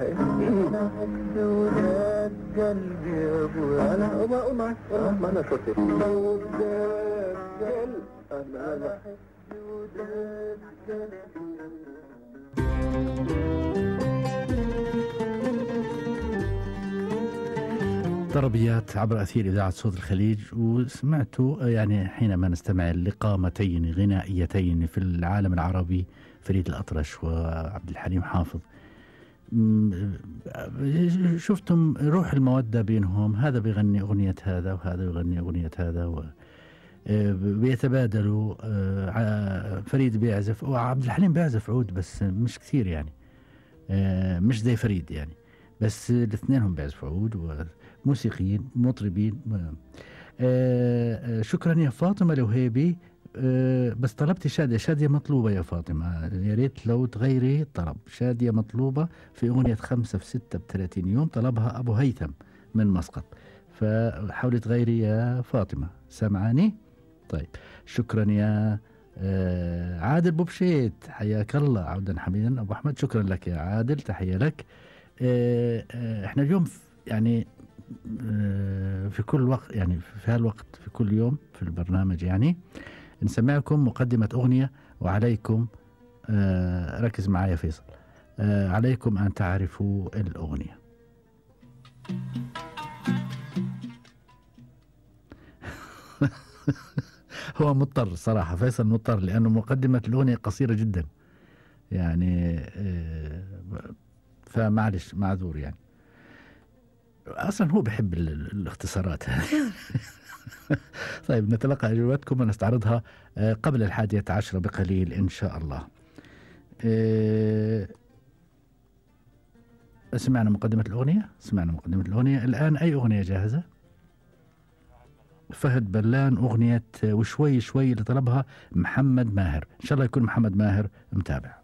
أنا حب ولاد قلبي يا أبويا. أنا ما أنا صوتي ولاد قلبي. أنا حب ولاد قلبي. طربيات عبر أثير إذاعة صوت الخليج. وسمعت يعني حينما نستمع لقامتين غنائيتين في العالم العربي، فريد الأطرش وعبد الحليم حافظ، شفتم روح المودة بينهم، هذا بيغني أغنية هذا وهذا بيغني أغنية هذا، بيتبادلوا. فريد بيعزف وعبد الحليم بيعزف عود بس مش كثير يعني، مش زي فريد يعني، بس الاثنين هم بيعزفوا عود وموسيقيين مطربين. شكرا يا فاطمة الوهيبي. بس طلبتي شادية مطلوبة يا فاطمة، يا ريت لو تغيري الطلب. شادية مطلوبة في أغنية 5 في 6 ب30 يوم، طلبها أبو هيثم من مسقط، فحاولي تغيري يا فاطمة. سمعاني؟ طيب شكرا يا عادل بوبشيت، حياك الله عودا حميدا. أبو أحمد شكرا لك يا عادل، تحية لك. احنا اليوم يعني في كل وقت، يعني في هالوقت في كل يوم في البرنامج يعني نسمعكم مقدمة أغنية، وعليكم ركز معايا فيصل، عليكم أن تعرفوا الأغنية. هو مضطر صراحة، فيصل مضطر، لأنه مقدمة الأغنية قصيرة جدا يعني، فمعلش معذور يعني، أصلا هو بحب الاختصارات. طيب نتلقى أجوبتكم ونستعرضها قبل 11:10 بقليل إن شاء الله. سمعنا مقدمة الأغنية. الآن أي أغنية جاهزة؟ فهد بلان، أغنية وشوي شوي اللي طلبها محمد ماهر. إن شاء الله يكون محمد ماهر متابع.